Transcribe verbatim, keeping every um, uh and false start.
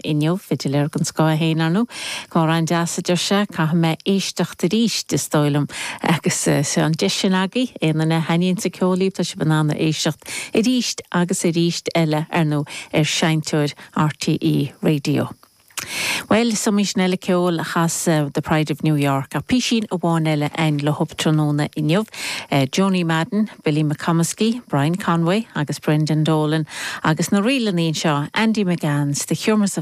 Inniu fidiléir den scoth féin ar ndóigh Clár an-deas a deir sé caithfidh mé éisteacht arís is dóigh liom agus se an deis sin agaibh aon duine a thaitníonn an ceol libh tá sibh in ann éisteacht arís agus arís eile ar ndóigh ar seinnteoir RTÉ Radio. Well so sin eile ceol a chas uh, The Pride of New York a písín amháin eile ein le hop tráthnóna inniu, uh, Joanie Madden, Billy McComiskey, Brian Conway agus Brendan Dolan agus na rílanna seo Andy McGann's The Humors of